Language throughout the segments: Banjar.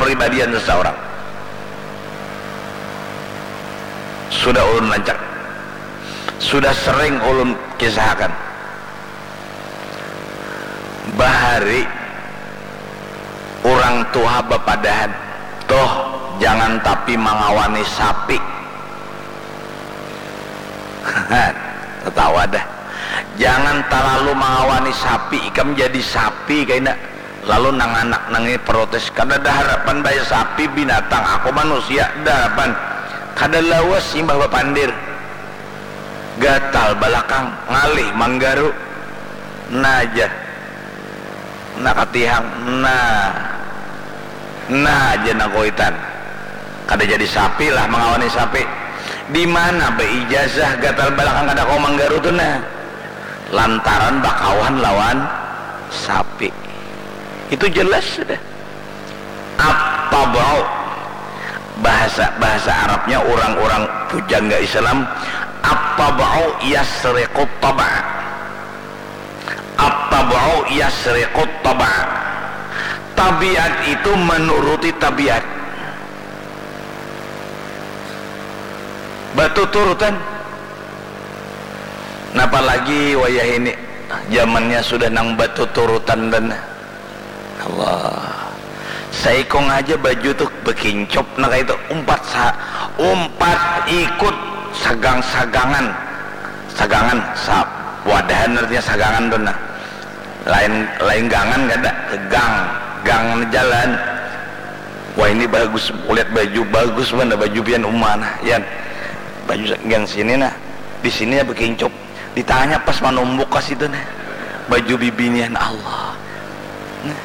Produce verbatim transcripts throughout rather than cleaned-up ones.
kepribadian seseorang. Sudah ulun lancak, sudah sering ulun kisahakan. Bahari urang tuha bapadahan, "Tuh, jangan tapi mangawani sapi." Tatawa dah. "Jangan talalu mangawani sapi, ikam jadi sapi kaina." Lalu nang anak nang ini protes, "Kadada harapan baya sapi, binatang, aku manusia, da harapan." Kada lawas imbah bapandir, gatal balakang, ngalih manggaru. Nah ja, nah katihang, nah, nah ja nang kuitan. Kada jadi sapi lah mangawani sapi. Di mana baijazah gatal balakang kada kawa manggaru tu nah? Lantaran bakawan lawan sapi. Itu jelas sudah. At-tab'u, bahasa, bahasa Arabnya orang-orang pujangga Islam, at-tab'u yasriqut tab'a. At-tab'u yasriqut tab'a. Tabiat itu menuruti tabiat. Batuturutan. Napa lagi wayah ini, zamannya sudah nang batuturutan dan Allah. Saikung aja baju tuh bekincop, nah, kayak itu, umpat sa-, umpat ikut sagang-sagangan. Sagangan, sa-, wadahan artinya sagangan tuh, nah. Lain, lain gangan kada, gang, gang jalan. Wah, ini bagus, kulihat baju bagus mana, baju pian uma nah, Yan. Baju sa-, gang sini nah, di sini ya bekincop. Ditanya pas manumbuk ka situ nah. Baju bibinian, Allah. Nah.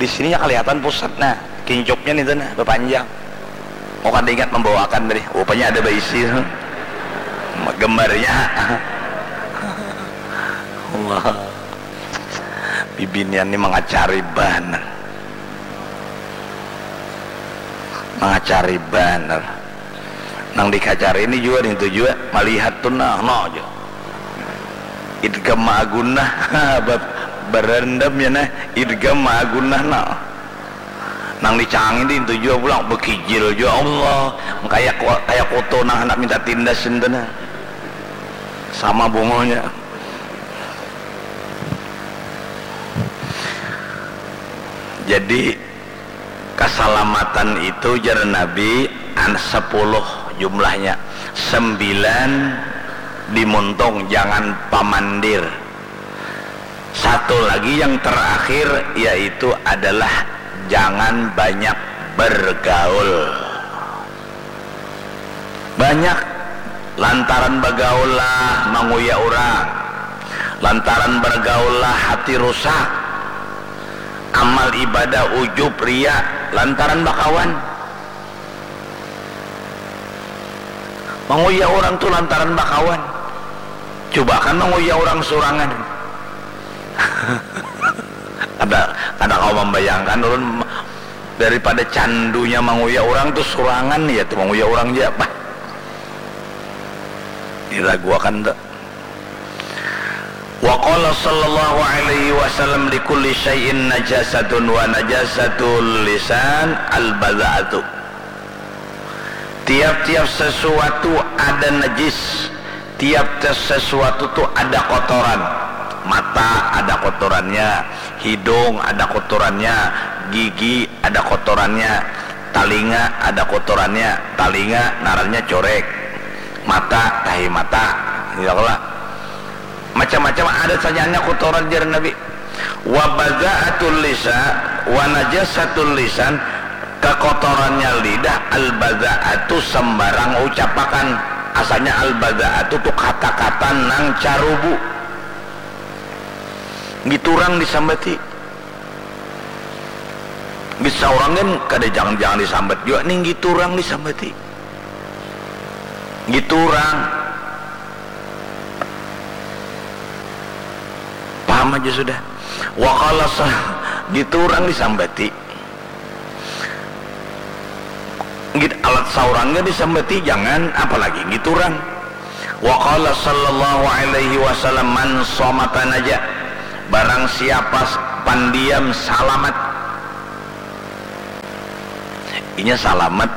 Di sininya kelihatan pusat nah, kincopnya nih nah, bepanjang. Mau kada ingat membawakan tadi, rupanya ada baisi gambarnya. Allah. Bibinian ni mangacari banar. Mangacari banar. Nang dikacari ni jua, nintu jua, malihat tu nah, nah ja. Idgham ma'a gunnah, ba-, barandam ya nah, idgham ma'a gunnah nah. Nang dicangi nintu jua pulang, bekijil jua, Allah. Kaya ku-, kaya kutu nang handak minta tindas nintu nah. Sama bungunya. Jadi, kasalamatan itu, jar Nabi, an-, sepuluh jumlahnya. Sembilan di muntung, jangan pamandir. Satu lagi yang terakhir, yaitu adalah jangan banyak bergaul. Banyak, lantaran bagaul lah manguya urang, lantaran bergaul lah hati rusak, amal ibadah ujub, ria, lantaran bakawan. Manguya urang tu lantaran bakawan. Cuba kan manguya urang surangan. Kada, kada kawa mambayangkan ulun. Daripada candunya manguya urang tu surangan, ya tu manguya urang ja, bah. Diraguakan tu. Wa qala sallallahu alaihi wasallam, "Likulli syai'in najasatun wa najasatul lisan al-badha'atu." Tiap-tiap sesuatu ada najis, tiap-tiap sesuatu tu ada kotoran. Mata ada kotorannya, hidung ada kotorannya, gigi ada kotorannya, talinga ada kotorannya, talinga ngarannya corek, mata, tahi mata, ya Allah. Macam-macam ada sajaannya kotoran, jar Nabi. Wa bazaatul lisan, wa najasatul lisan, kakotorannya lidah, al bazaatu sembarang ucapakan. Asalnya al bazaatu tu kata-kata nang carubu. Giturang disambati. Bisa orang kan kada jangan-jangan disambat jua nih, giturang disambati. Giturang. Paham aja sudah. Wa qala sa-, giturang disambati. Git alat saurangnya disambati, jangan apalagi giturang. Wa qala sallallahu alaihi wasallam, "Man somata naja." Barang siapa s-, pandiam salamat. Inya salamat.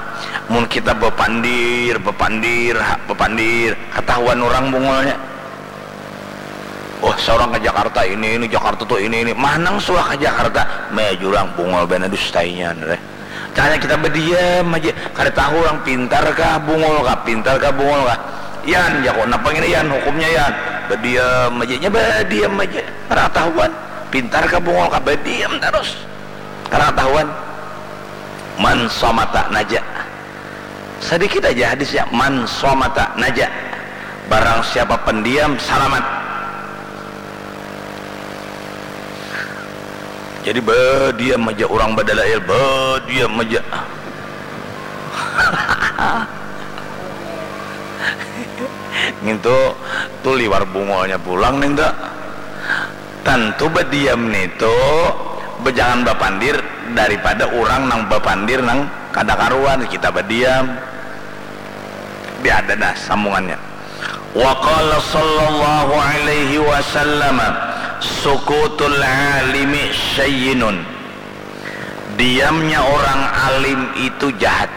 Mun kita bapandir, bapandir, ha, bapandir, katahuan urang bungulnya. Oh, saurang ka Jakarta ini, ini Jakarta tu ini, ini. Manang suah ka Jakarta, meh jurang bungul banar dustainya, nih. Caranya kita badiam aja, kada tahu urang pintar kah, bungul kah, pintar kah, bungul kah. Yan, jaku, napa ngini Yan, hukumnya Yan? Badiam aja, nya badiam aja, kada katahuan. Pintar kah, bungul kah, badiam tarus. Kada katahuan. Man somata naja. Sadikit aja hadisnya, man somata naja. Barang siapa pendiam, salamat. Jadi badiam aja urang badalail, badiam aja. Ngintu tu liwar bungulnya pulang nintu. Tantu badiam nitu bejangan bapandir daripada urang nang bapandir nang kada karuan, kita badiam. Biar ada dah sambungannya. Wa qala sallallahu alaihi wasallam, sukutul alimi sayyinun. Diamnya orang alim itu jahat.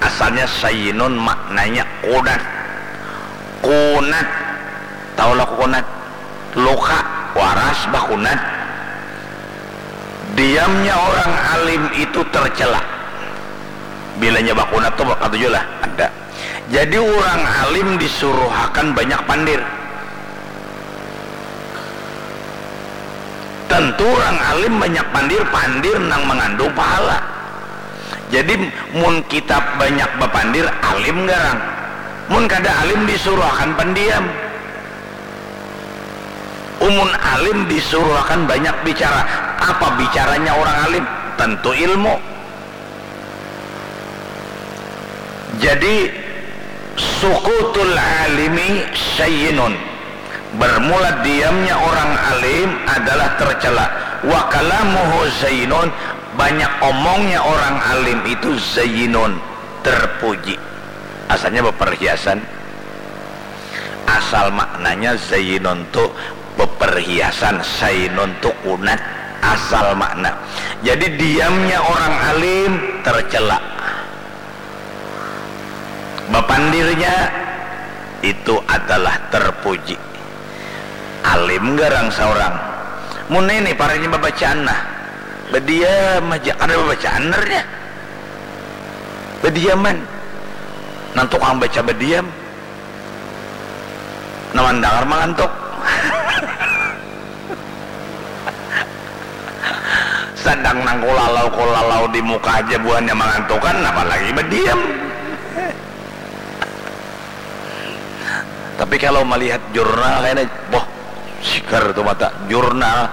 Asalnya sayyinun maknanya kunat. Kunat. Tahulah kunat? Luka, waras, bakunat. Diamnya orang alim itu tercela. Bilanya bakunat tu katuju lah, ada. Jadi urang alim disuruhakan banyak pandir. Tentu urang alim banyak pandir, pandir nang mangandung pahala. Jadi mun kita banyak bapandir, alim garang. Mun kada alim, disuruhakan pendiam. Umun alim disuruhakan banyak bicara. Apa bicaranya orang alim? Tentu ilmu. Jadi sukutul alimi sayyinun. Bermula diamnya orang alim adalah tercela. Wa kalamuhu zayyinun, banyak omongnya orang alim itu zayyinun, terpuji. Asalnya beperhiasan. Asal maknanya zayyinun tu beperhiasan, sainun tu kunat. Asal makna. Jadi diamnya orang alim tercela. Bapandirnya itu adalah terpuji. Alim garang saurang. Mun ini paranya babacaan nah. Badiam aja, kada babacaan nernya. Badiaman. Nang tukang baca badiam. Nah, mandangar mangantuk. Sadang nang kulalau-kulalau di muka aja buhannya mangantukan, apalagi badiam. Tapi kalau melihat jurnal ini, boh, sigar tu mata, jurnal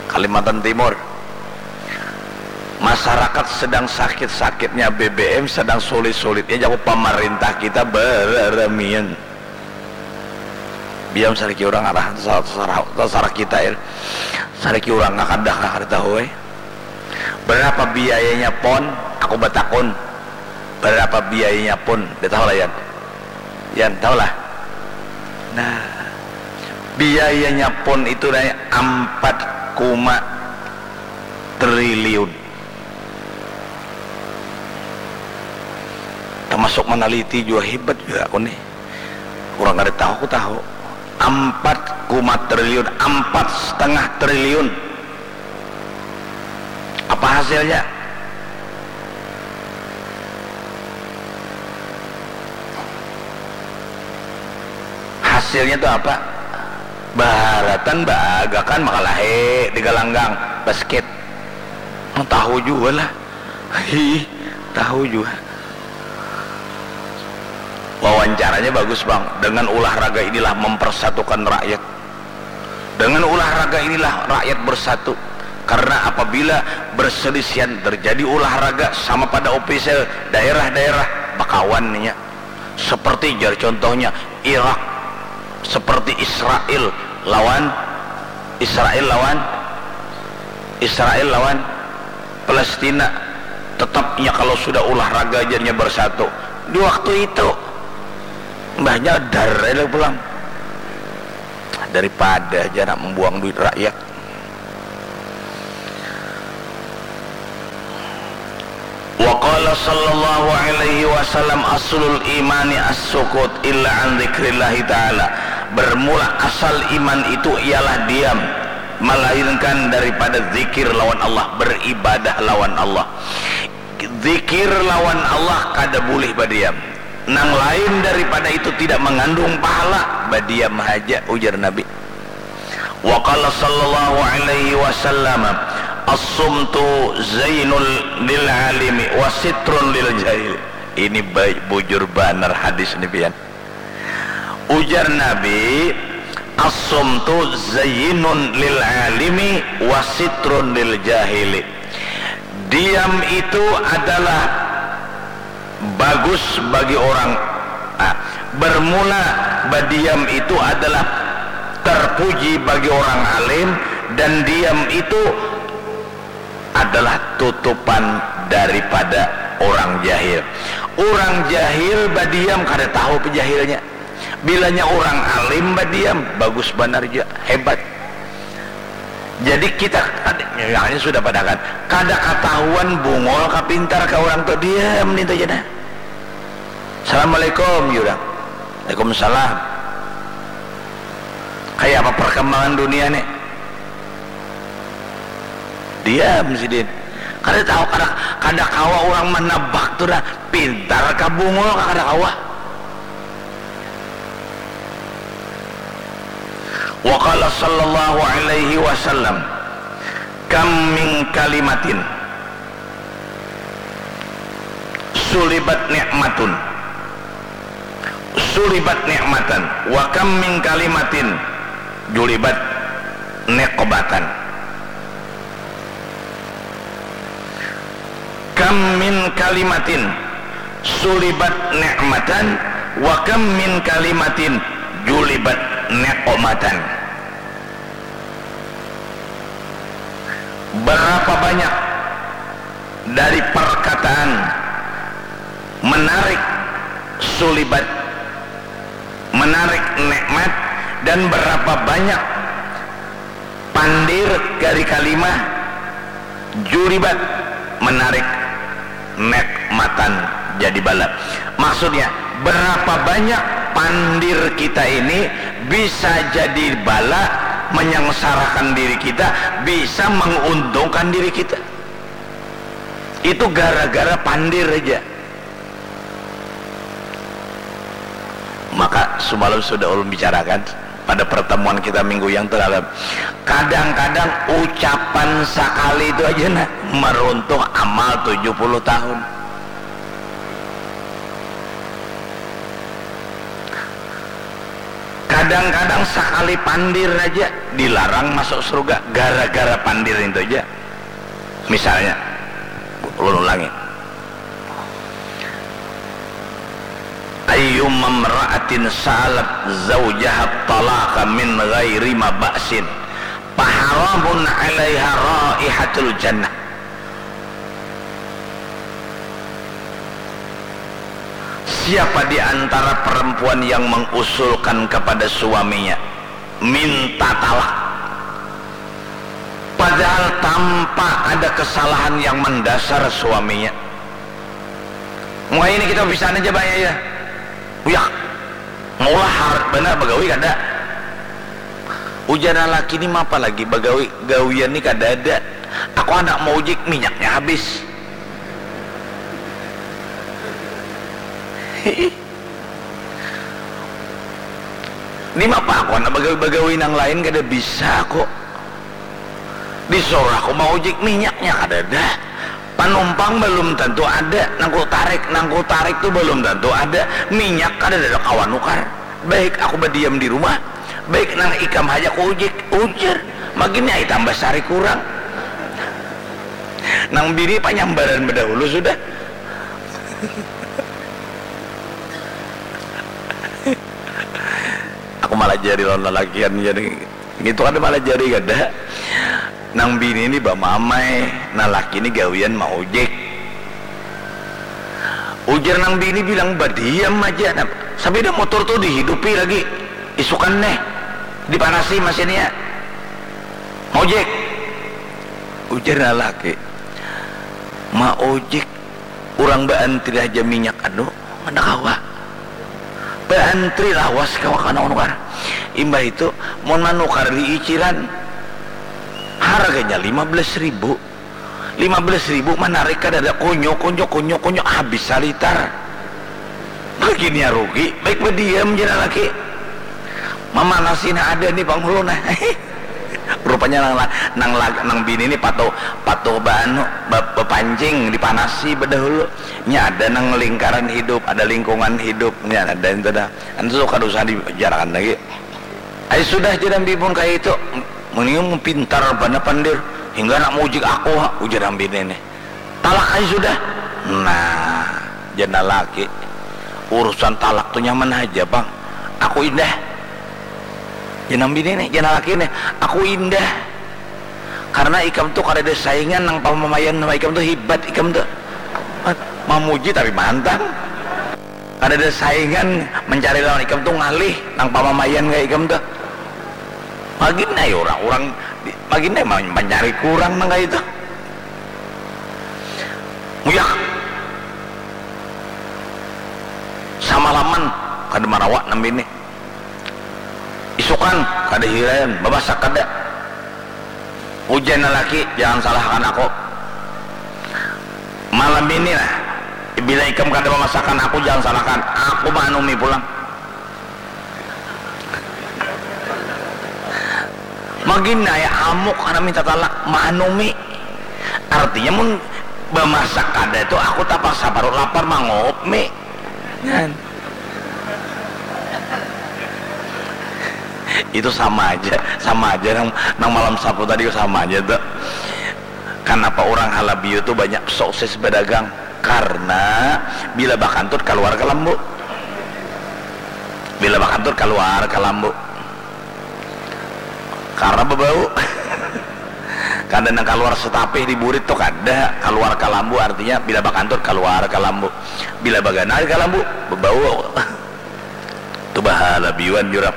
Kalimantan Timur. Masyarakat sedang sakit-sakitnya, B B M sedang sulit-sulitnya, jaku pamarintah kita bararamian. Biam sariki urang arah tasarah, tasarah kita, ya. Sariki urang kakadah, kada tahu, eh. Berapa biayanya pon? Aku batakun. Berapa biayanya pon? Dia tahu lah, Yan. Yan, tahu lah. Nah, biayanya pon itu naik ampat koma triliun. Termasuk meneliti juga, hebat juga aku nih. Orang kada tahu, aku tahu. Ampat koma triliun, ampat setengah triliun. Apa hasilnya? Hasilnya tu apa? Baharatan baagakan makalahi di galanggang basket. Tahu jua lah. Hi, tahu jua. Wawancaranya bagus, Bang. Dengan olahraga inilah mempersatukan rakyat. Dengan olahraga inilah rakyat bersatu. Karena apabila berselisihan terjadi olahraga sama pada ofisial daerah-daerah, bakawan nya. Seperti jar contohnya Irak, seperti Israel lawan Israel lawan Israel lawan Palestina, tetapnya kalau sudah olahraga jadinya bersatu. Di waktu itu mbahnya dar aja pulang daripada aja nak membuang duit rakyat. Qala sallallahu alaihi wasallam, "Aslul imani as-sukut illa an dzikrillahi ta'ala." Bermula asal iman itu ialah diam, melainkan daripada zikir lawan Allah, beribadah lawan Allah. Zikir lawan Allah kada bulih badiam. Nang lain daripada itu tidak mangandung pahala, badiam haja, ujar Nabi. Wa qala sallallahu alaihi wasallam, "As-sumtu zainul lil alimi wa sitrun lil jahil." Ini baik, bujur banar hadis ni, pian. Ujar Nabi, "As-sumtu zainun lil alimi wa sitrun lil jahili." Diam itu adalah bagus bagi orang, ah, bermula badiam itu adalah terpuji bagi orang alim, dan diam itu adalah tutupan daripada orang jahil. Orang jahil badiam kada tahu apa jahilnya. Bilanya orang alim badiam, bagus banar jua, hebat. Jadi kita kada, misalnya sudah padahakan, kada katahuan bungul ka pintar ka orang tu, diam nintu ja nah. "Assalamualaikum," jar urang. "Waalaikumsalam." "Kaya apa perkembangan dunia ni?" Diam sidin. Kada tahu, kada, kada kawa urang manabak tu nah, pintar ka bungul ka, kada kawa. Wa qala sallallahu alaihi wasallam, "Kam min kalimatin sulibat ni'matun, sulibat ni'matan, wa kam min kalimatin julibat niqmatan." Kam min kalimatin sulibat ni'matan, wa kam min kalimatin julibat niqmatan. Berapa banyak dari perkataan menarik sulibat, menarik nikmat, dan berapa banyak pandir dari kalimah julibat, menarik nikmatan, jadi bala. Maksudnya, berapa banyak pandir kita ini bisa jadi bala, menyengsarakan diri kita, bisa menguntungkan diri kita. Itu gara-gara pandir aja. Maka semalam sudah ulun bicarakan pada pertemuan kita minggu yang terlalu, kadang-kadang ucapan sakali itu aja nah meruntuh amal tujuh puluh tahun. Kadang-kadang sakali pandir aja dilarang masuk surga gara-gara pandir itu aja. Misalnya, ulun ulangi. Ayyuma mra'atin sa'alat zaujaha talaqa min ghairi ma ba'sin, faharamun 'alaiha raihatul jannah. Siapa di antara perempuan yang mengusulkan kepada suaminya minta talak, padahal tanpa ada kesalahan yang mendasar suaminya. Muka ini kita bisaan aja banyak ya. Uyak, maulah harat banar bagawi kada. Ujar laki ni mapa lagi bagawi, gawian ni kada ada. Aku anak mau ujik minyaknya habis. Di mapa aku anak bagawi-bagawi nang lain kada bisa aku. Disuruh aku maujik minyaknya kadada. Panumpang balum tantu ada, nang ku tarik, nang ku tarik tu balum tantu ada, minyak kadada kawa nukar. Baik aku badiam di rumah, baik nang ikam haja ku ujik, ujar. Magin ai tambah sari kurang. Nang bini panyambaran badahulu sudah. Aku malajari lawan lalakian jadi. Ngitu kada malajari kada. Nang bini ni bamamai, nang laki ni gawian maujik. Ujar nang bini bilang badiam aja. Nah, sapida motor tu dihidupi lagi. Isukan neh dipanasi masinnya. Maujik. Ujar nang laki. Maujik Urang baantri haja minyak anu, kada kawa. Baantri lawas kawa ka nukar. Imbah itu, mun manukar di iciran, harganya lima belas ribu. Lima belas ribu manarik kadada, kunyu, kunyu, kunyu, kunyu, habis salitar. Makinnya rugi, baik badiam ja laki. Mamanasi nah ada ni panghulu nah. Rupanya nang la-, nang la-, nang bini ni patuh, patuh baanu, ba-, bapancing, dipanasi badahulu. Nya ada nang lingkaran hidup, ada lingkungan hidup, nya ada itu dah. Antu tu kada usah dibicarakan lagi. Ai sudah ja nang bini mun kaya itu, mending pintar banar pandir, hingga handak maujik aku ha, ujar nang bini ni. Talak ai sudah. Nah, jar nang laki, urusan talak tu nyaman haja pang. Aku indah. Jar nang bini ni, jar nang laki ni, aku indah. Karena ikam tu kadada saingan nang pamamaian sama ikam tu, hibat ikam tu. Mamuji tapi mantang. Kadada saingan mencari lawan ikam tu ngalih nang pamamaian kaya ikam tu. Magin ai urang, urang di-, magin ai ma-, mancari kurang nang kaya itu. Muyak. Samalaman kada marawa nang bini. Isukan kada hiraian, bamasak kada. Ujar nang laki, jangan salahkan aku. Malam ini nah, bila ikam kada mamasakan aku, jangan salahkan. Aku maanumi pulang. Magin ai amuk handak minta talak, maanumi. Artinya mun bamasak kada tu aku tapaksa parut lapar manguhup mi. Kan? Itu sama aja, sama aja nang, nang malam Sabtu tadi sama aja tu. Kanapa urang Halabiu tu banyak sukses badagang? Karna bila bakantut kaluar ka lambu. Bila bakantut kaluar ka lambu. Karna babau. Kada nang kaluar satapih di burit tu kada, kaluar ka lambu artinya bila bakantut kaluar ka lambu. Bila baganal ka lambu, babau. Tu bahalabiuan jurang.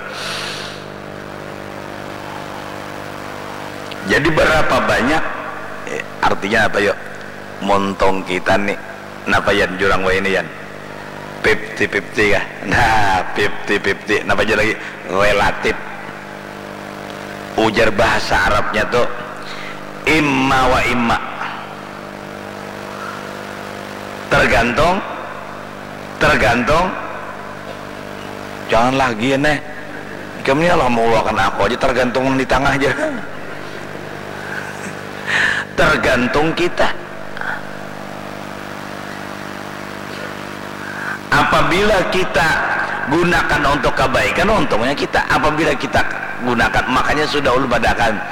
Jadi berapa banyak, eh, artinya apa yo? Montong kita ni, napa yan jurang wahini yan? Fifty fifty kah? Nah, fifty fifty. Napa ja lagi? Relatif. Ujar bahasa Arabnya tu imma wa imma. Tergantung, tergantung. Jangan lagi ya neh. Ikam ni lah mau luakan aku aja, tergantung di tangah aja. Tergantung kita. Apabila kita gunakan untuk kebaikan, untungnya kita. Apabila kita gunakan, makanya sudah ulun padahakan,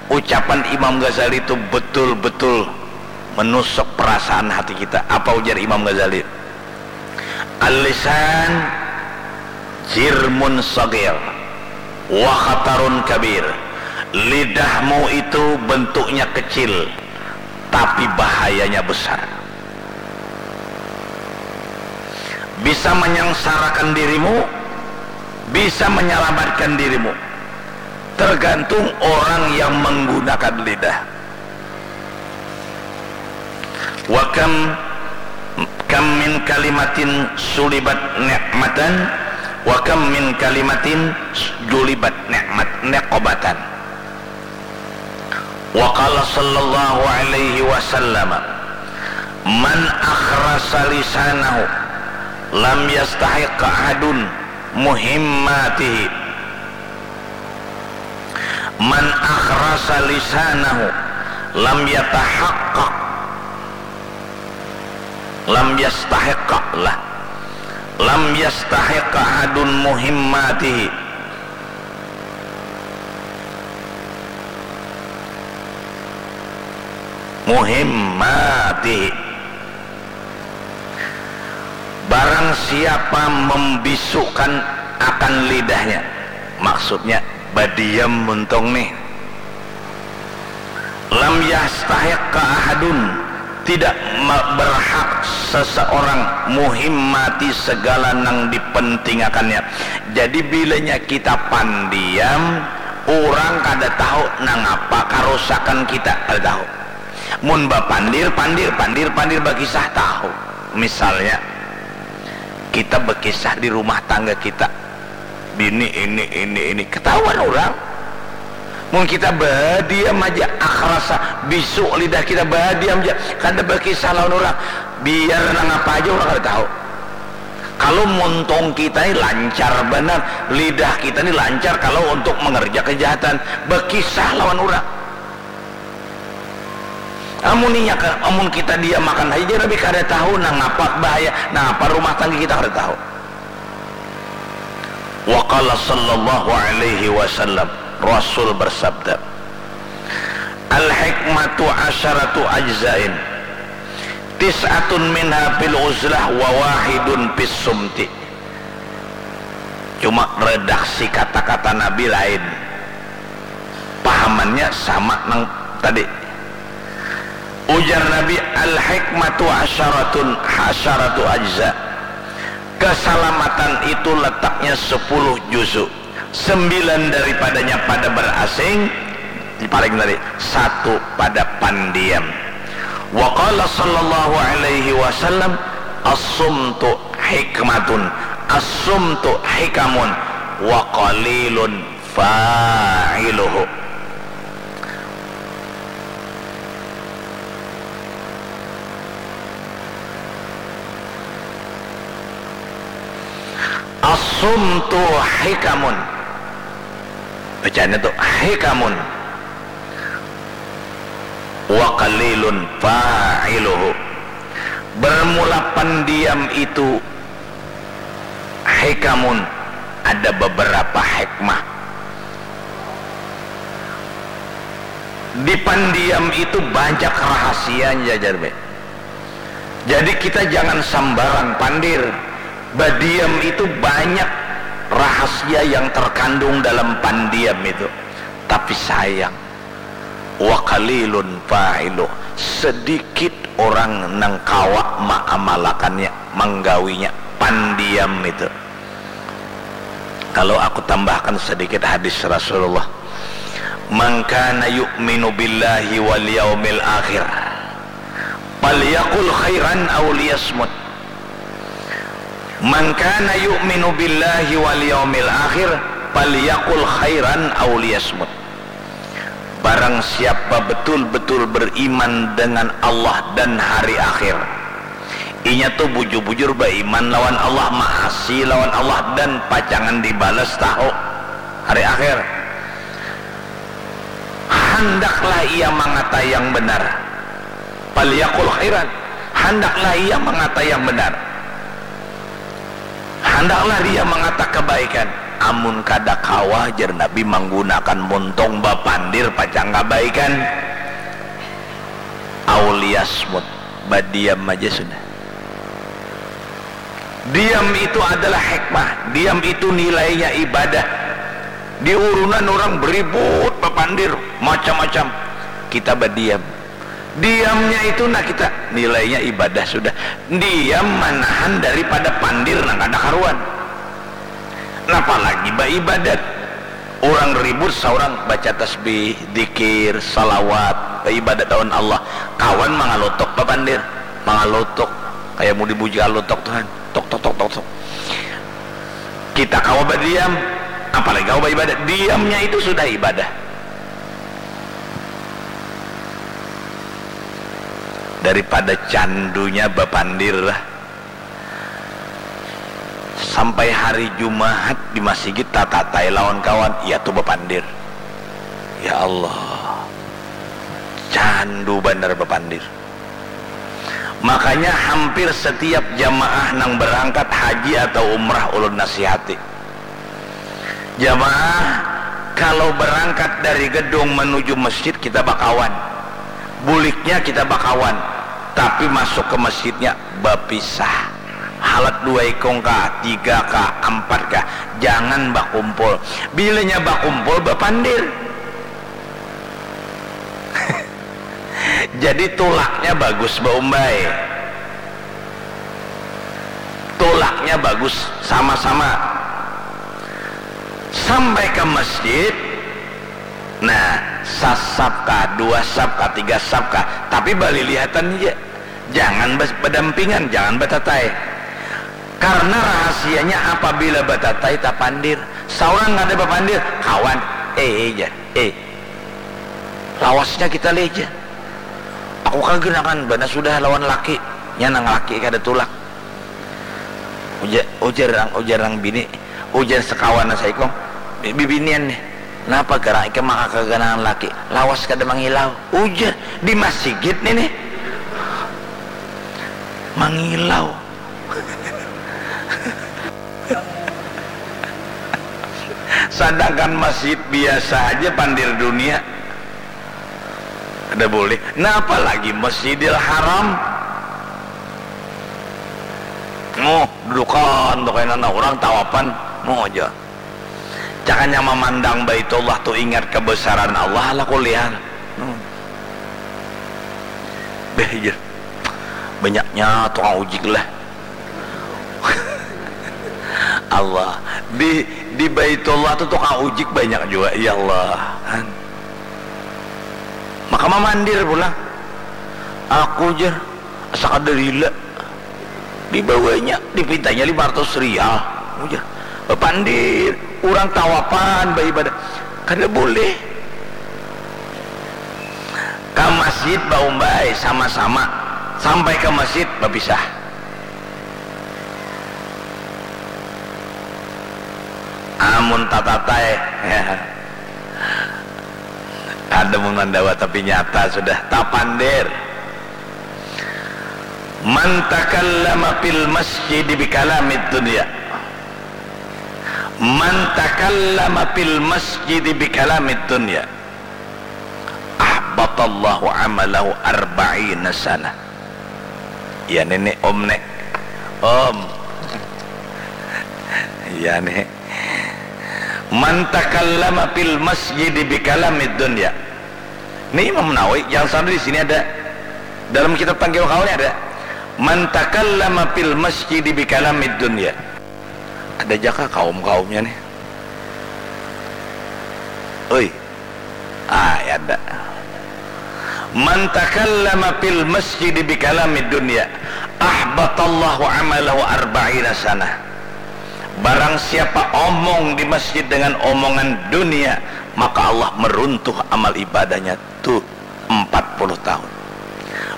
ucapan Imam Ghazali itu betul-betul menusuk perasaan hati kita. Apa ujar Imam Ghazali? Al-lisan jirmun sagir wa khatarun kabir. Lidahmu itu bentuknya kecil, tapi bahayanya besar. Bisa menyengsarakan dirimu, bisa menyelamatkan dirimu. Tergantung orang yang menggunakan lidah. Wa kam, kam min kalimatin sulibat ni'matan, wa kam min kalimatin julibat ni'mat, niqobatan. Wa qala sallallahu alaihi wasallam, man akhrasa lisanahu lam yastahiq ahadun muhimmatihi. Man akhrasa lisanahu lam yatahaqqaq, lam yastahiqqa lah. Lam yastahiqqa ahadun muhimmatihi. Muhimmatihi. Barang siapa membisukkan akan lidahnya, maksudnya badiam muntung nih. Lam yastahiqqa ahadun, tidak ma-, berhak seseorang muhimmati segala nang dipentingakannya. Jadi bilanya kita pandiam, urang kada tahu nangapa karusakan kita, kada tahu. Mun bapandir, pandir, pandir, pandir bakisah tahu. Misalnya, kita bekisah di rumah tangga kita, bini ini, ini, ini, ketahuan orang. Mun kita badiam aja, akrasa, bisu lidah kita, badiam aja, kada bekisah lawan orang, biar nang apa aja orang kada tahu. Kalau muntung kita ini lancar banar, lidah kita ini lancar kalau untuk mengerja kejahatan, bekisah lawan orang. Amun inya ka, amun kita diamakan haja, Nabi kada tahu nangapa bahaya, nangapa rumah tangga kita kada tahu. Wa qala sallallahu alaihi wasallam, Rasul bersabda, "Al hikmatu asyaratu ajzain, tis'atun minha fil uzlah wa wahidun fis sumti." Cuma redaksi kata-kata Nabi lain, pahamannya sama nang tadi. Ujar Nabi, "Al hikmatu asyaratun, asyaratu ajza." Keselamatan itu letaknya sepuluh juzu. Sembilan daripadanya pada berasing, paling tadi, satu pada pandiam. Wa qala sallallahu alaihi wasallam, "As-sumtu hikmatun, as-sumtu hikamun, wa qalilun fa'iluhu." As-sumtu hikamun. Bacaannya tu hikamun. Wa qalilun fa'iluhu. Bermula pendiam itu hikamun, ada beberapa hikmah. Di pendiam itu banyak rahasianya, jar be. Jadi kita jangan sambarang pandir. Badiam itu banyak rahasia yang terkandung dalam pandiam itu. Tapi sayang, wa qalilun fa'ilu, sedikit orang nang kawa maamalakannya, manggawinya, pandiam itu. Kalau aku tambahkan sedikit hadis Rasulullah, "Man kana yu'minu billahi wal yaumil akhir, falyaqul khairan aw liyasmut." "Man kana yu'minu billahi wal yaumil akhir, falyaqul khairan aw liyasmut." Barang siapa betul-betul beriman dengan Allah dan hari akhir, inya tu bujur-bujur baiman lawan Allah, maasi lawan Allah, dan pacangan dibalas tahu hari akhir, handaklah ia mangata yang benar. Falyaqul khairan, handaklah ia mangata yang benar. Handaklah dia mangata kebaikan. Amun kada kawa, jar Nabi, manggunakan muntung bapandir pacang kabaikan, aw liyasmut, badiam aja sudah. Diam itu adalah hikmah, diam itu nilainya ibadah. Di urunan orang beribut, bapandir, macam-macam. Kita badiam. Diamnya itu, nah, kita nilainya ibadah sudah. Diam manahan daripada pandir nang kada karuan. Napa lagi baibadat. Orang ribut, saurang baca tasbih, dikir, salawat, baibadat lawan Allah. Kawan mangalutuk bapandir, mangalutuk. Kaya mau dibuji alutuk tuh, han. Tok, tok, tok, tok, tok. Kita kawa badiam, apalagi kawa baibadat. Diamnya itu sudah ibadah. Daripada candunya bapandir lah. Sampai hari Jumahat di masigit tatatai lawan kawan, iya tu bapandir. Ya Allah, candu banar bapandir. Makanya hampir setiap jamaah nang berangkat haji atau umrah ulun nasihati. Jamaah, kalau berangkat dari gedung menuju masjid, kita bakawan. Buliknya kita bakawan, tapi masuk ke masjidnya bapisah. Halat dua ikung kah, tiga kah, ampat kah, jangan bakumpul. Bilanya bakumpul, bapandir. Jadi tulaknya bagus, baumbai. Tulaknya bagus, sama-sama. Sampai ke masjid, nah, sasap kah, dua sap kah, tiga sap kah, tapi balilihatan aja. Jangan badampingan, jangan batatai. Karena rahasianya apabila batatai tapandir. Saurang kada bapandir, kawan, eh jar, eh. Lawasnya kita leja. Aku kagenakan bana sudah lawan laki, nya nang laki kada tulak. Ujar, ujar nang, ujar nang bini, ujar sekawan nang saikung, bibinian nih. Napa garang ikam maka kaganangan laki? Lawas kada mangilau. Ujar, di masigit nih nih. Mangilau. Sadangkan masjid biasa aja pandir dunia. Ada boleh. Nah, apalagi Masjidil Haram. Muh, dudukan tu kena nah orang tawapan. Muh aja. Jangan yang memandang Baitullah tu ingat kebesaran Allah lah kuliah. Hmm. Beh, iya. Banyaknya tukang ujik lah. Allah. Di di Baitullah tu tukang ujik banyak juga, ya Allah. Kan. Maka mamandir pulang. Aku jar, asa kada rila. Dibawanya, dipintanya lima ratus rial. Ujar, bapandir, urang tawapan baibadah. Kada boleh. Ka masjid baumbai sama-sama, sampai ka masjid bapisah. Amun tatatai, ada mun mandawa tapi nyata sudah tapandir. Man takallama fil masjid bikalamid dunya. Man takallama fil masjid bikalamid dunya. Ahbatallahu amalahu arba'ina sanah. Ya nenek om nek. Om. Ya nek. Man takallama fil masjid bikalamid dunya. Ini Imam Nawawi, jangan salah di sini ada. Dalam kitab Tangkil Kaul ada. Man takallama fil masjid bikalamid dunya. Ada jaka kaum-kaumnya nih. Oi. Ah, ya ada. Man takallama fil masjid bikalamid dunya, ahbatallahu amalahu arba'ina sanah. Barang siapa omong di masjid dengan omongan dunia, maka Allah meruntuh amal ibadahnya tuh empat puluh tahun.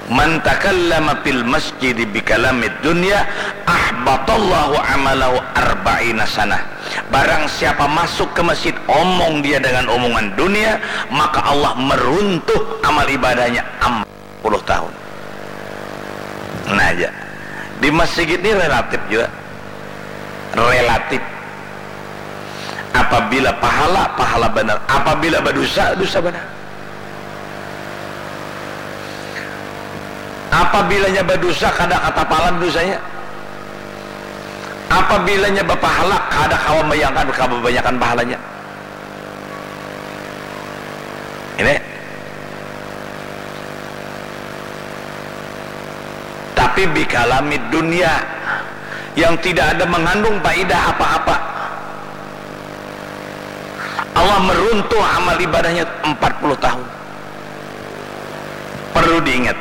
Man takallama fil masjid bikalamid dunya, ahbatallahu amalahu arba'ina sanah. Barang siapa masuk ke masjid, omong dia dengan omongan dunia, maka Allah meruntuh amal ibadahnya empat puluh tahun. Nah aja. Di masjid ini relatif juga. Relatif. Apabila pahala, pahala benar. Apabila berdosa, dosa benar. Apabilanya badusa kada katapalan dusanya. Apabilanya bapahala kada kawa bayangkan kababanyakan pahalanya. Ini. Tapi bikalami dunia yang tidak ada mengandung faidah apa-apa. Allah meruntuh amal ibadahnya empat puluh tahun. Perlu diingat,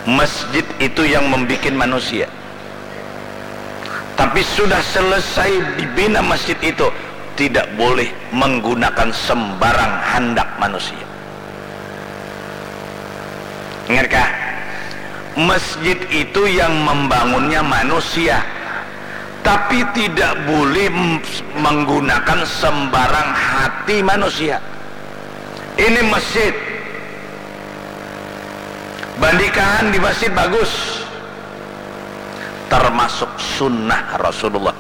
masjid itu yang membuat manusia. Tapi sudah selesai dibina masjid itu, tidak boleh menggunakan sembarang handak manusia. Ingatkah? Masjid itu yang membangunnya manusia, tapi tidak boleh menggunakan sembarang hati manusia. Ini masjid. Bandikan di masjid bagus. Termasuk sunnah Rasulullah.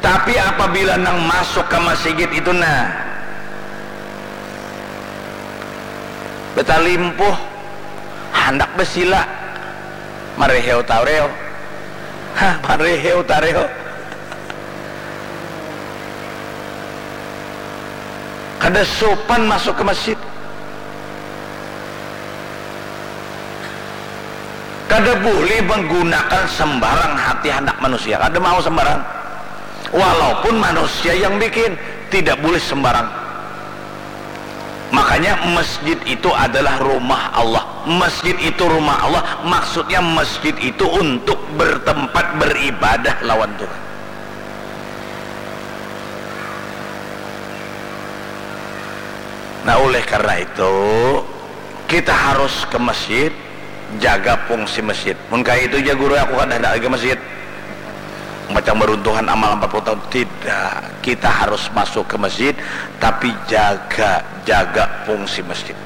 Tapi apabila nang masuk ke masjid itu nah, betalimpuh, handak besila, mareheu tareo. Hah, mareheu tareo. Kada sopan masuk ke masjid. Kada boleh menggunakan sembarang hati handak manusia. Kada mau sembarang. Walaupun manusia yang bikin, tidak boleh sembarang. Makanya masjid itu adalah rumah Allah. Masjid itu rumah Allah, maksudnya masjid itu untuk bertempat beribadah lawan Tuhan. Nah, oleh karena itu, kita harus ke masjid, jaga fungsi masjid. Mun kaya itu ja, guru, aku kada handak lagi masjid. Macam beruntuhan amal empat puluh tahun. Tidak. Kita harus masuk ke masjid, tapi jaga, jaga fungsi masjid.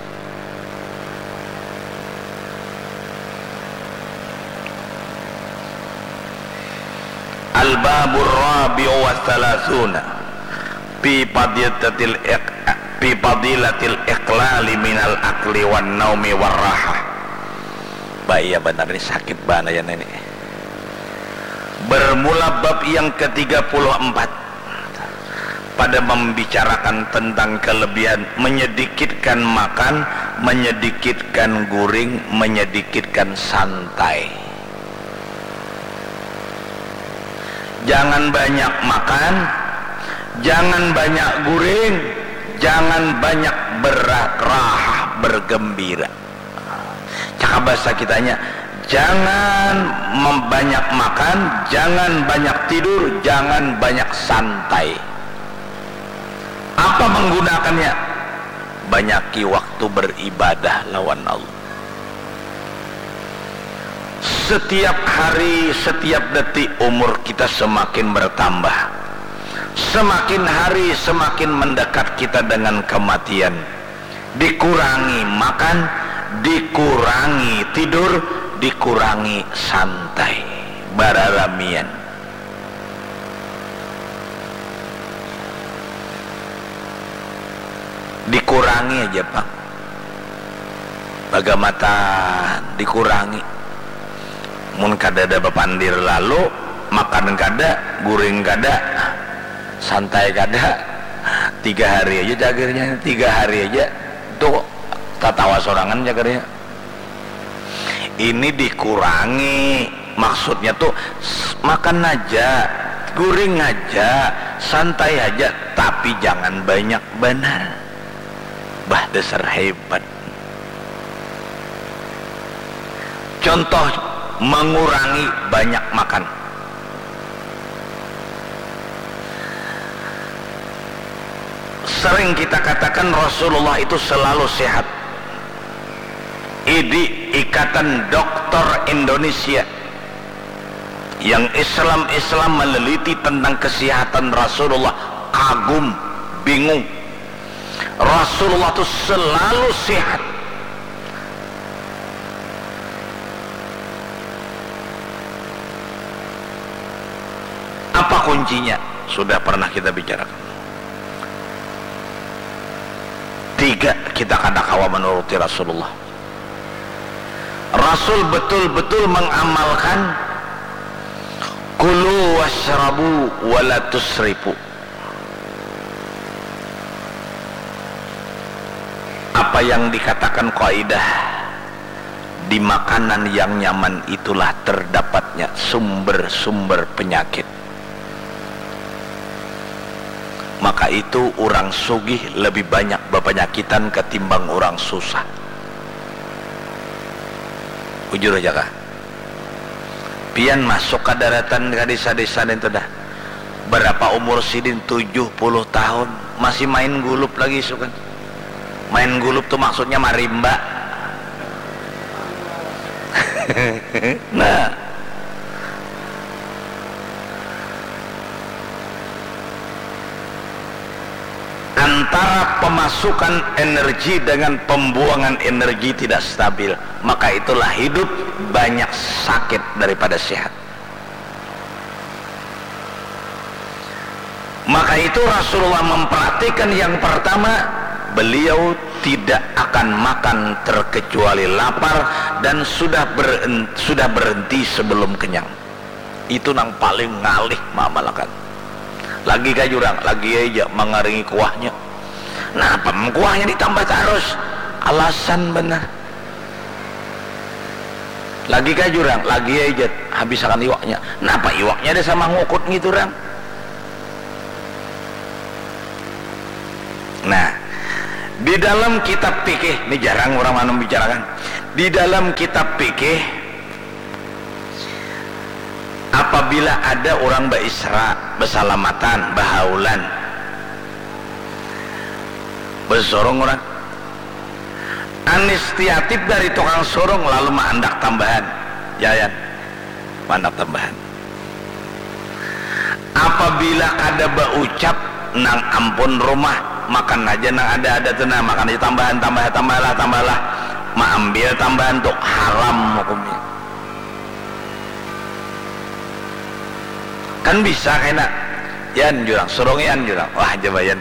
Al-babur rabi'u wa thalathuna fi fadilatil iq-, fi fadilatil iqlali minal akli wan naumi war rahah. Bah, iya banar ni, sakit banar ya ini. Bermula bab yang ketiga puluh empat pada membicarakan tentang kelebihan menyedikitkan makan, menyedikitkan guring, menyedikitkan santai. Jangan banyak makan, jangan banyak guring, jangan banyak berrahah, bergembira. Cakap bahasa kitanya, jangan mem-, banyak makan, jangan banyak tidur, jangan banyak santai. Apa menggunakannya? Banyaki waktu beribadah lawan Allah. Setiap hari, setiap detik umur kita semakin bertambah. Semakin hari semakin mendekat kita dengan kematian. Dikurangi makan, dikurangi tidur, dikurangi santai, bararamian. Dikurangi aja, pang. Bagamatan, dikurangi. Mun kadada bapandir lalu, makan kada, guring kada, santai kada, tiga hari aja cagernya, tiga hari aja tuh tatawa sorangan cagernya. Ini dikurangi, maksudnya tuh s-, makan aja, guring aja, santai aja, tapi jangan banyak banar. Bah, dasar hebat. Contoh, mengurangi banyak makan. Sering kita katakan Rasulullah itu selalu sehat. Idi, Ikatan Dokter Indonesia, yang Islam-Islam meneliti tentang kesehatan Rasulullah, kagum, bingung. Rasulullah tu selalu sehat. Apa kuncinya? Sudah pernah kita bicarakan. Tiga, kita kada kawa menuruti Rasulullah. Rasul betul-betul mengamalkan kulu washrabu wala tusrifu. Apa yang dikatakan kaidah, di makanan yang nyaman itulah terdapatnya sumber-sumber penyakit. Maka itu, urang sugih lebih banyak bapanyakitan katimbang urang susah. Bujur aja kah? Pian masuk ka daratan ka desa-desa nintu dah. Barapa umur sidin? Tujuh puluh tahun. Masih main gulup lagi isukan. Main gulup tu maksudnya marimba. Nah. Antara pemasukan energi dengan pembuangan energi tidak stabil, maka itulah hidup banyak sakit daripada sehat. Maka itu Rasulullah memperhatikan yang pertama, beliau tidak akan makan terkecuali lapar dan sudah beren-, sudah berhenti sebelum kenyang. Itu nang paling ngalih maamalakan. Lagi kah jurang? Lagi aja mangaringi kuahnya. Napa kuahnya ditambah tarus? Alasan benar. Lagi kah jurang? Lagi aja habisakan iwaknya. Napa iwaknya ada sama ngukut ngitu, rang? Nah, Di dalam kitab fikih, ini jarang orang anu bicarakan. Di dalam kitab fikih, apabila ada orang baisra, basalamatan, bahaulan, basurung orang, inisiatif dari tukang surung lalu maandak tambahan. Jayan, maandak tambahan. Apabila kada baucap, nang ampun rumah, makan haja nang ada-ada tu nah, makan haja tambahan, tambah, tambahlah, tambahlah. Maambil tambahan tu haram hukumnya. Kan bisa kena, yan jurang, surung yan jurang, wah, jabayan.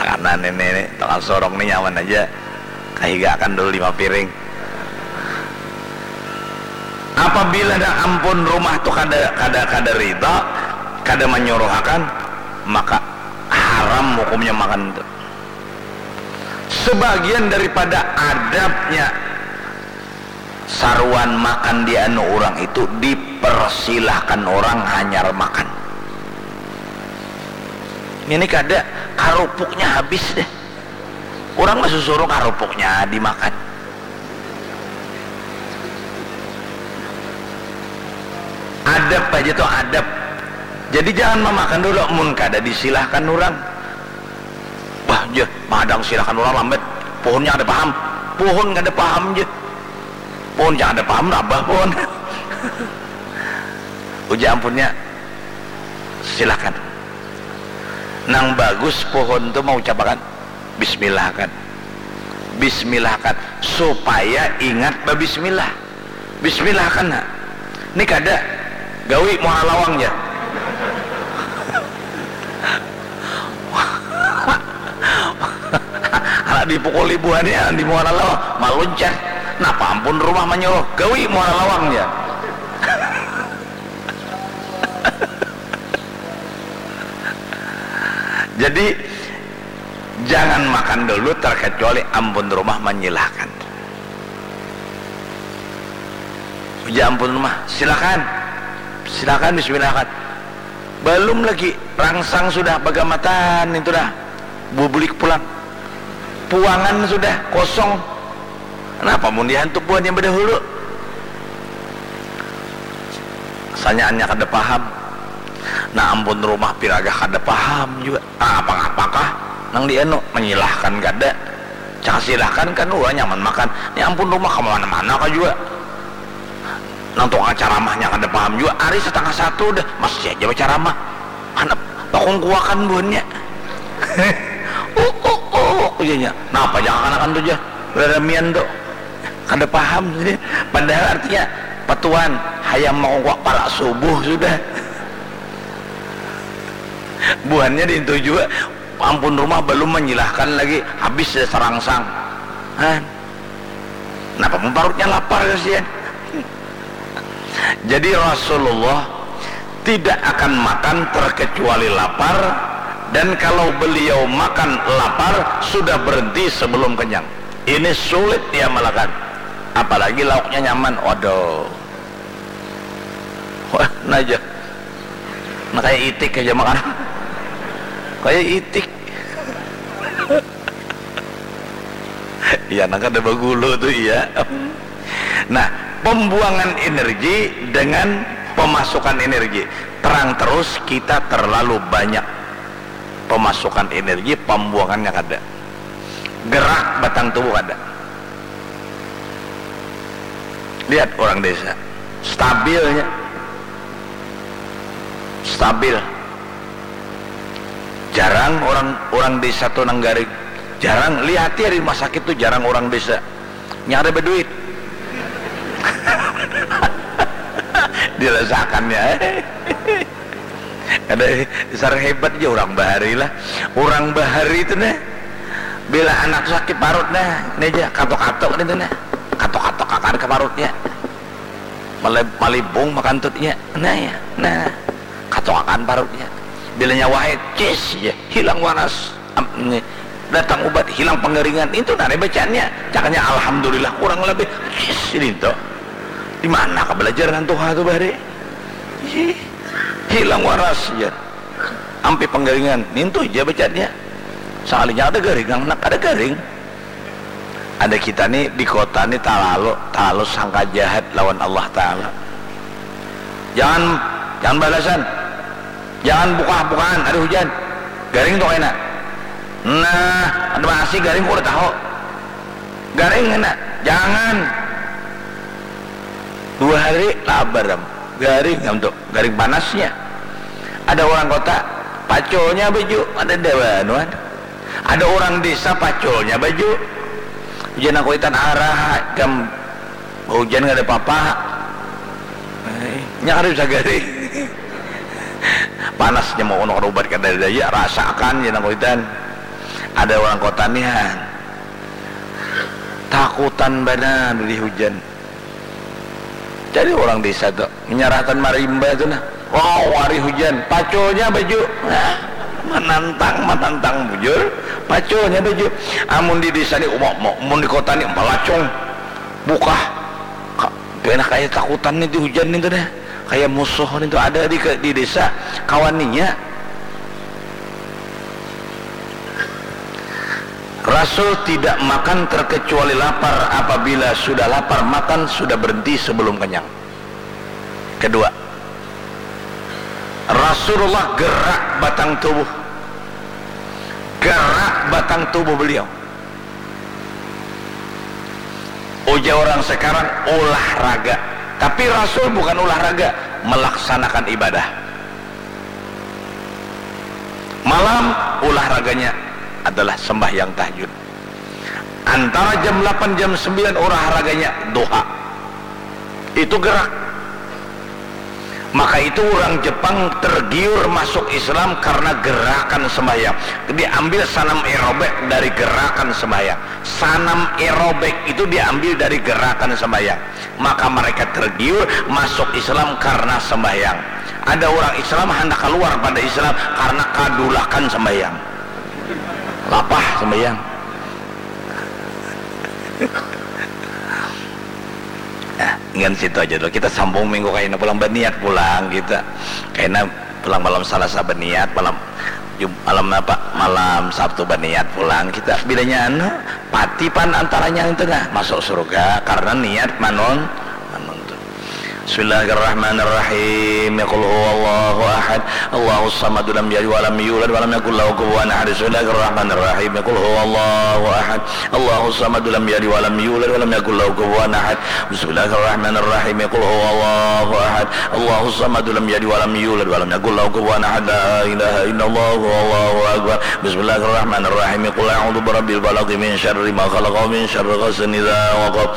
Nah, karena ini, ini tukang surung ni nyaman aja, kahigakan dulu lima piring. Apabila dah ampun rumah tu kada, kada, kada rida, kada manyuruhakan, maka haram hukumnya makan tu. Sebagian daripada adabnya saruan makan di anu orang itu dipersilahkan orang hanyar makan. Ini kada, karupuknya habis deh. Orang masusuruh karupuknya dimakan. Adab aja tuh adab. Jadi jangan memakan dulu, mun kada disilahkan orang. Bah, jeh, madang silahkan orang lambat. Pohonnya ada paham. Pohon kada paham jeh. Pohon jangan ada paham rabah pohon. Ujar ampunnya, silahkan. Nang bagus pohon tu mau ucapakan. Bismillahkan. Bismillahkan. Supaya ingat babismillah. Bismillahkan, nak. Ni kada. Gawi muara lawang ja. Anak dipukuli buhannya di muara lawang. Maluncat. Napa ampun rumah manyuruh. Gawi muara lawang ja. Jadi, jangan makan dulu terkecuali ampun rumah menyilahkan. Ujar ampun rumah, silakan. Silakan, bismillahkan. Belum lagi, rangsang sudah bagamatan itu dah. Bubulik pulang. Puangan sudah kosong. Kenapa mun dihantuk buhannya bedahulu? Sanyaannya kada paham. Nah, ampun rumah piragah kada paham juga. Ah, apa-apakah nang dianu, menyilahkan kada. Cak silahkan kan, wah, nyaman makan. Ni ampun rumah ka mana-mana ka jua. Nang tukang caramahnya kada paham jua. Ari satangah satu dah, masih aja bacaramah. Handak pakungkuakan buhannya. Uh, uh, uh, ujarnya. Napa ja kakanakan tu ja, raramian tu. Kada paham. Padahal artinya, patuan, hayam makungkuak parak subuh sudah. Buhannya dintu jua, ampun rumah balum manyilahkan lagi, habis sudah sarangsang. Han. Napa mun parutnya lapar, kasihan. Jadi Rasulullah tidak akan makan terkecuali lapar, dan kalau beliau makan lapar, sudah berhenti sebelum kenyang. Ini sulit diamalkan. Apalagi lauknya nyaman. Waduh. Wah, nah ja. Nah, kayak itik aja makan. Kayak itik. Iya, nah, kada bagulu tu, iya. Nah, pembuangan energi dengan pemasukan energi. Terang terus, kita terlalu banyak pemasukan energi, pembuangannya kada. Gerak batang tubuh kada. Lihat orang desa, stabilnya. Stabil. Jarang orang, orang desa tu nang garing. Jarang, lihati di rumah sakit tu jarang orang desa. Nya kada baduit. Dirasakannya. Kada, dasar hebat ja urang bahari lah. Urang bahari tu nah, bila anak tu sakit parut nah, ni ja, katuk-katuk ni tu nah. Katuk-katuk akan ka parutnya. Malib-, malibung makantutnya. Nah ya, nah. Katuk akan parutnya. Bila nyawa haid, cis ja, hilang waras. Am-, ni, datang ubat, hilang pengeringan. Itu nah bacaannya. Caknya alhamdulillah kurang lebih. Cis, ini tu. Di mana ka belajar nang tuha tu bahari? Ih, hilang waras ja. Ampi penggaringan, nintu ja bacanya. Sakalinya kada garing, nang kada garing. Ada kita ni di kota ni talalu, talalu sangka jahat lawan Allah Ta'ala. Jangan, jangan balasan. Jangan buka-bukaan, ada hujan. Garing tu kena. Nah, ada masih garing, kau udah tahu. Garing kena. Jangan. Dua hari labar am. Garing am tu. Garing panasnya. Ada orang kota, paculnya baju, ada dewanuan. Ada orang desa, paculnya baju. Hujan aku itan arah, jam hujan kada apa-apa. Eh, nya kada bisa garing. Panasnya mau unuk ubat kada daya, rasakan jar nang kuitan. Ada orang kota nian. Takutan banar di hujan. Jadi orang desa tu menyarahkan marimba tu nah. Wow, hari hujan, paculnya baju. Nah, menantang, menantang bujur, paculnya baju. Amun di desa ni umum, mun di kota ni melacung. Bukah. Ka-, kena kaya takutan ni di hujan ni tu dah. Kaya musuh ni tu ada di, di desa. Kawan ninya. Rasul tidak makan terkecuali lapar, apabila sudah lapar makan, sudah berhenti sebelum kenyang. Kedua, Rasulullah gerak batang tubuh. Gerak batang tubuh beliau. Ujar orang sekarang olahraga. Tapi Rasul bukan olahraga, melaksanakan ibadah. Malam olahraganya adalah sembahyang tahajud. Antara jam lapan, jam sembilan olahraganya duha. Itu gerak. Maka itu orang Jepang tergiur masuk Islam karena gerakan sembahyang. Diambil sanam aerobik dari gerakan sembahyang. Sanam aerobik itu diambil dari gerakan sembahyang. Maka mereka tergiur masuk Islam karena sembahyang. Ada orang Islam hendak keluar pada Islam karena kadulakan sembahyang. Lapah sembahyang. Nah, ingin situ aja dulu. Kita sambung minggu kaina pulang, berniat pulang kita. Kaina pulang malam Salasa berniat, malam Jum-, malam apa? Malam Sabtu berniat pulang kita. Bilanya anu, pati pan antaranya itu nah, masuk surga karena niat manun-, manuntut. Bismillahirrahmanirrahim. Qul huwallahu ahad. Allahus samad, lam yalid walam yulad walam yakul lahu kufuwan ahad. Bismillahirrahmanirrahim. Qul huwallahu ahad. Allahus samad, lam yalid walam yulad walam yakul lahu kufuwan ahad. Bismillahirrahmanirrahim. Qul huwallahu ahad. Allahus samad, lam yalid walam yulad walam yakul lahu kufuwan ahad. La ilaha illallah, wallahu akbar. Bismillahirrahmanirrahim. Qul a'udzu birabbil falaq, min syarri ma khalaq, wa min syarri ghasiqin idza waqab.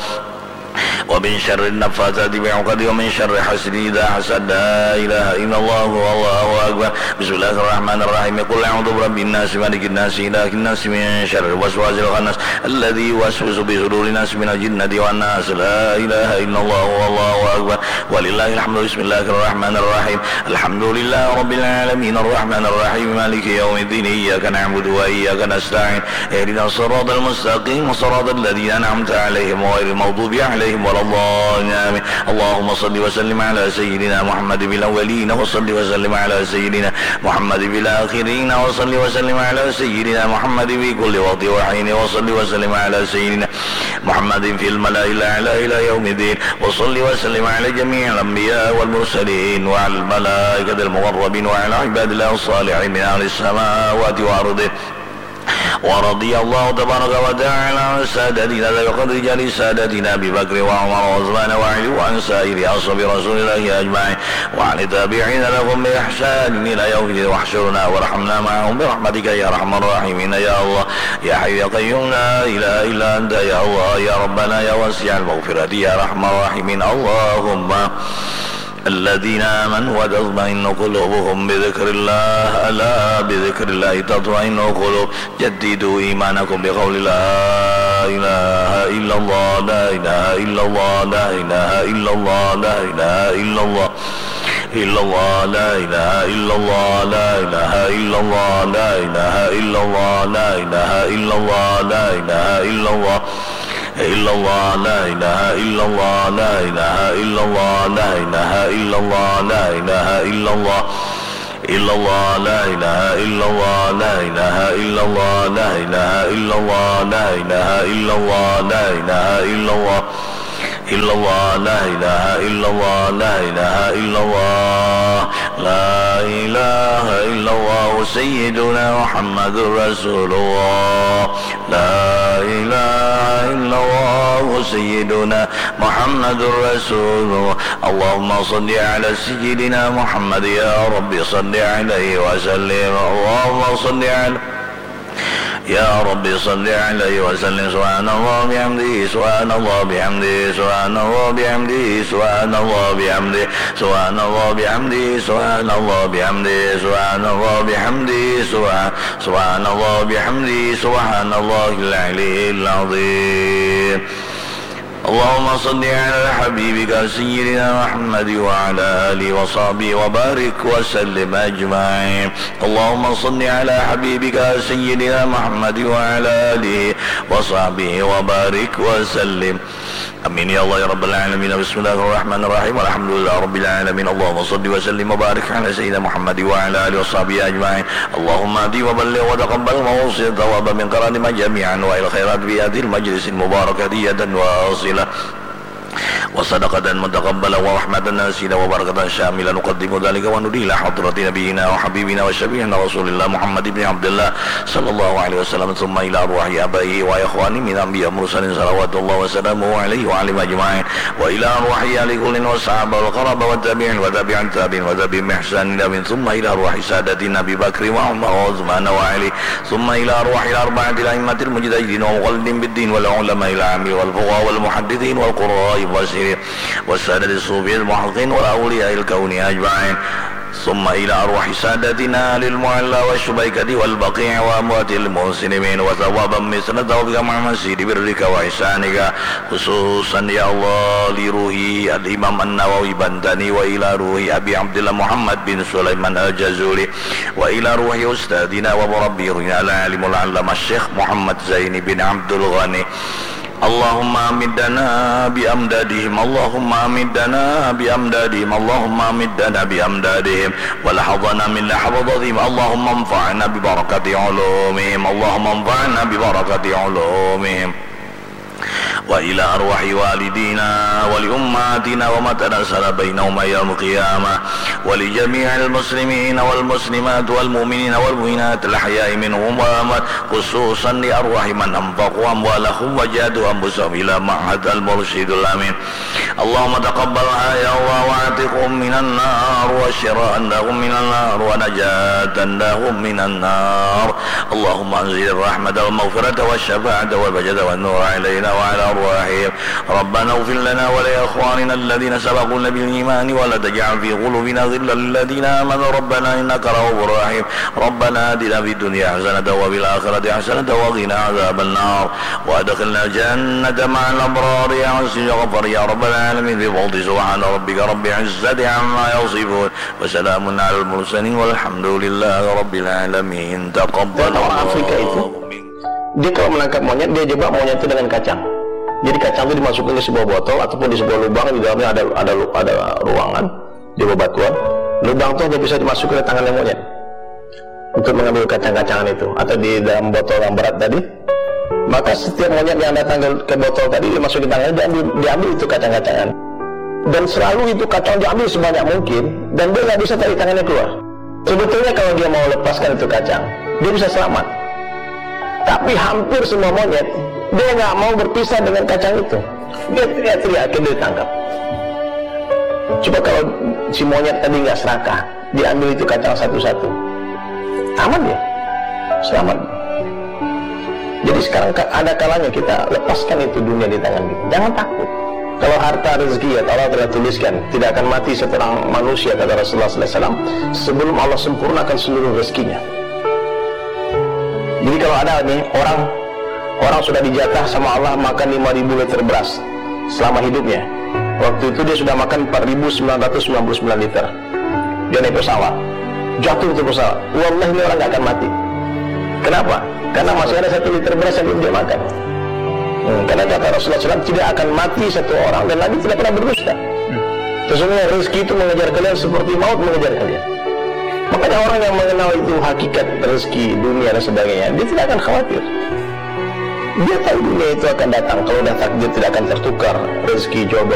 Wa min syarri nafatsati fil 'uqad, wa min syarri hasidin idza hasad. La ilaha illallah, wallahu akbar. Bismillahirrahmanirrahim. Qul a'udzu birabbin nas, malikin nas, ilahin nas, min syarril waswasil khannas, alladzi yuwaswisu fi sudurin nas, minal jinnati wan nas. La ilaha illallah, wallahu akbar. Walillahil hamdu. Bismillahirrahmanirrahim. Alhamdulillahi rabbil alamin, arrahmanirrahim, maliki yaumiddin, iyyaka na'budu wa iyyaka nasta'in, ihdinas siratal mustaqim, siratal ladzina an'amta 'alaihim, ghairil maghdubi 'alaihim waladdallin. Amin. Allahumma shalli wa sallim 'ala sayyidina Muhammadin fil awwalin, wa shalli wa sallim 'ala sayyidina Muhammadin fil akhirin, wa shalli wa sallim 'ala sayyidina Muhammadin fi kulli waqtin wa hin, wa shalli wa sallim 'ala sayyidina Muhammadin fil mala'il a'la ila yaumiddin. Wa shalli wa sallim 'ala jami'il anbiya wal mursalin, wa 'alal malaikatil muqarrabin, wa 'ala ibadillahis shalihin min ahlis samawati wal ardi. Wa radiyallahu tabaraka wa ta'ala 'an sadatina Dzabil Qadri Jalil, sadatina Abi Bakr wa Umar wa Utsman wa 'Ali, wa 'an sa'iri ashabi Rasulillahi ajma'in, wa 'anit tabi'ina lahum bi ihsanin ila yaumiddin, wahdhurna warhamna ma'ahum bi rahmatika ya arhamar rahimin. Ya Allah, ya Hayyu ya Qayyum, la ilaha illa Anta, ya Allah, ya Rabbana, ya Wasi'al Maghfirati, ya Arhamar Rahimin. Allahumma الذين آمنوا وتطمئن قلوبهم بذكر الله، ألا بذكر الله تطمئن القلوب، جددوا إيمانكم بقول لا إله إلا الله، لا إله إلا الله، لا إله إلا الله، لا إله إلا الله، إلا الله، لا إله إلا الله، لا إله إلا الله، لا إله إلا الله، لا إله إلا الله، لا إله إلا الله. إلا الله، لا إله إلا الله، لا إله إلا الله، لا إله إلا الله، لا إله إلا الله. إلا الله لا إله إلا الله لا إله إلا الله لا إله إلا الله لا إله إلا الله لا إله إلا الله إلا الله لا إله إلا الله لا إله إلا الله لا إله إلا الله سيدنا محمد رسول الله لا إله إلا الله سيدنا محمد رسول الله اللهم صل على سيدنا محمد يا رب صل عليه وسلم اللهم صل على يا رب صل عليه وسلم سبحان الله بحمده سبحان الله بحمده سبحان الله بحمده سبحان الله بحمده سبحان الله بحمده سبحان الله بحمده سبحان الله بحمده سبحان سبحان الله بحمده سبحان الله العلي العظيم اللهم صل على حبيبك سيدنا محمد وعلى آله وصحبه وبارك وسلم أجمعين اللهم صل على حبيبك سيدنا محمد وعلى آله وصحبه وبارك وسلم آمين يا الله يا رب العالمين بسم الله الرحمن الرحيم الحمد لله رب العالمين اللهم صل وسلم وبارك على سيدنا محمد وعلى آله وصحبه أجمعين اللهم اهد وبلغ وتقبل وأوصل ثواب من قراننا جميعا وإلى الخيرات في هذه المجلس المباركة يدا واصلة وصدقة متقبلة ورحمة نازلة وبركة شاملة نقدم ذلك وندي إلى حضرة نبينا وحبيبنا وشفيعنا رسول الله محمد بن عبد الله صلى الله عليه وسلم ثم إلى أرواح آبائه وإخوانه من أنبياء مرسلين صلوات الله وسلامه عليه وعليهم أجمعين وإلى أرواح آل كل والصحابة والقرابة والتابعين وتابع التابعين وتابعين بإحسان إلى يوم الدين ثم إلى أرواح سادتنا أبي بكر وعمر وعثمان وعلي ثم إلى أرواح الأربعة الأئمة المجتهدين والمقلدين بالدين والعلماء العاملين والفقهاء والمحدثين والقراء المفسرين والسادة الصوفية المحققين والأولياء الكون أجمعين ثم إلى أرواح سادتنا آل المعلى والشبيكة والبقيع وأموات المسلمين وثوابا مثل ثوابك مع مزيد برك وإحسانك خصوصا يا الله لروح الإمام النووي بنتني وإلى روح أبي عبد الله محمد بن سليمان الجازولي وإلى روح أستاذنا ومربينا العالم العلامة الشيخ محمد زين بن عبد الغني اللهم أمدنا بأمدادهم اللهم أمدنا بأمدادهم اللهم أمدنا بأمدادهم ولحظنا من لحظاتهم اللهم انفعنا ببركة علومهم اللهم انفعنا ببركة علومهم وإلى أرواح والدينا ولأمهاتنا وما تناسل بينهما يوم القيامة ولجميع المسلمين والمسلمات والمؤمنين والمؤمنات الأحياء منهم والأموات خصوصا لأرواح من أنفقوا أموالهم وجاهدوا أنفسهم إلى معهد المرشد الأمين اللهم تقبلها يا الله وأعتقهم من النار وأشركهم من النار ونجاة لهم من النار اللهم أنزل الرحمة والمغفرة والشفاعة والبركة والنور علينا وعلى أرواحهم ربنا اغفر لنا ولإخواننا الذين سبقونا بالإيمان ولا تجعل في قلوبنا غلا للذين آمنوا ربنا إنك رؤوف رحيم ربنا آتنا في الدنيا حسنة وفي الآخرة حسنة وقنا عذاب النار وأدخلنا الجنة مع الأبرار يا عزيز يا غفار يا رب العالمين بفضل سبحان ربك رب العزة عما يصفون وسلام على المرسلين والحمد للله رب العالمين تقبل Orang Afrika itu, الله منكم dia kalau menangkap monyet, dia jebak monyet itu dengan kacang. Jadi kacang itu dimasukkan di sebuah botol ataupun di sebuah lubang, di dalamnya ada ada ada ruangan, di bebatuan. Lubang itu hanya bisa dimasuki oleh tangannya monyet untuk mengambil kacang-kacangan itu, atau di dalam botol yang berat tadi. Maka setiap monyet yang datang ke, ke botol tadi, dimasuki tangannya, diambil, diambil itu kacang-kacangan. Dan selalu itu kacang diambil sebanyak mungkin, dan dia nggak bisa tarik tangannya keluar. Sebetulnya kalau dia mau lepaskan itu kacang, dia bisa selamat. Tapi hampir semua monyet, dia nggak mau berpisah dengan kacang itu. Dia teriak-teriak, akhirnya ditangkap. Coba kalau si monyet tadi nggak serakah, diambil itu kacang satu-satu, aman dia, selamat. Jadi sekarang ka- ada kalanya kita lepaskan itu dunia di tangan kita. Jangan takut. Kalau harta rezeki ya Allah telah tuliskan, tidak akan mati seorang manusia, kata Rasulullah sallallahu alaihi wasallam, sebelum Allah sempurnakan seluruh rezekinya. Jadi kalau ada nih orang orang sudah dijatah sama Allah makan lima ribu liter beras selama hidupnya. Waktu itu dia sudah makan empat ribu sembilan ratus sembilan puluh sembilan liter. Dia naik pesawat, jatuh itu pesawat. Wallahi, ini orang nggak akan mati. Kenapa? Karena masih ada satu liter beras yang belum dia makan. Hmm, karena kata Rasulullah sallallahu alaihi wasallam, tidak akan mati satu orang dan Nabi tidak pernah berdusta. Sesungguhnya rezeki itu mengejar kalian seperti maut mengejar kalian. Makanya orang yang mengenal itu hakikat rezeki dunia dan sebagainya, dia tidak akan khawatir. Dia tahu dunia itu akan datang, kalau dah takdir tidak akan tertukar rezeki jodoh